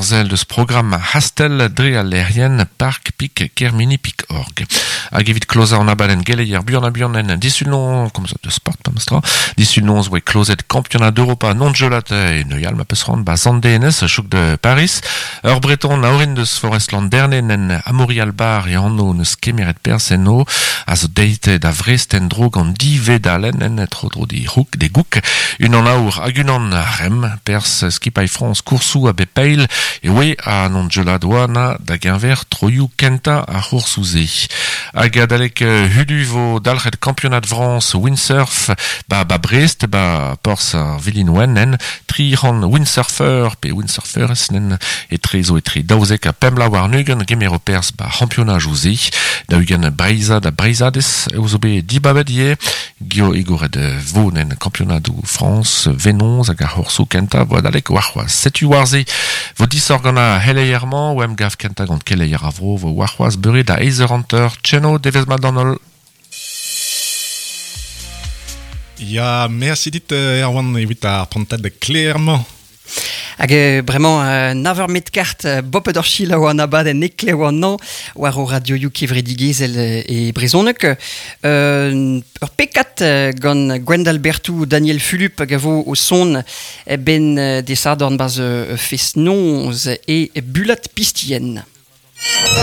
ur sell deus programm Hastel dre al lec'hienn park pik kermini pik org. Hag evit klozañ an abadenn geleier buan ha buan en disul-noz, komz de sport pemp tra, disul-noz oe klozet kampionad Europa non-gelat e Neuial ma peus c'hoant ba Sant-Denez, chouk de Paris. Ur breton a orin deus Forest Landerne en Amaury Albar e anv neus kemeret perzh eno a zo deit da Vrest en-dro gant div vedalenn en tro-dro d'e c'houk, d'e gouk, unan aour hag unan arem, perzh skipailh Frañs koursoù a bep eil e oe ha non gelad oa na da geñver troioù kentañ ar c'hoursoù-se. Hag adalek hudu vo dalc'het kampionad Frañs windsurf ba, ba Brest, ba porzh ar Vilin-Wenn en 300 windsurfer pe windsurferez nen etre zo etre 12 ha 5 vloaz warn-ugent gemero perzh ba c'hampionajoù-se. 40 Breizhad ha Breizhadez eo zo bet dibabet ivez. Gio egoret vo nen kampionadoù Frañs venoz hag ar c'hoursoù kentañ vo adalek warc'hoazh. Setu war-se vo disoc'h gant ar c'heleier-mañ o emgav kentañ gant keleier ar vro vo warc'hoazh beure da eizh eur hanter. Tcheno, devezh mat d'an holl. Ya, merci dit Erwan evit ar prantad klêr-mañ. Hag bremañ nav eur met kart bopet ur selaou an abadenn eklev an hañv war o radioioù kevredigezhel e brezhoneg. Ur pekad gant Gwendal Berthou, Daniel Fulup hag a vo o son ben desadorn 'barzh fest-noz e Bulat Pistien.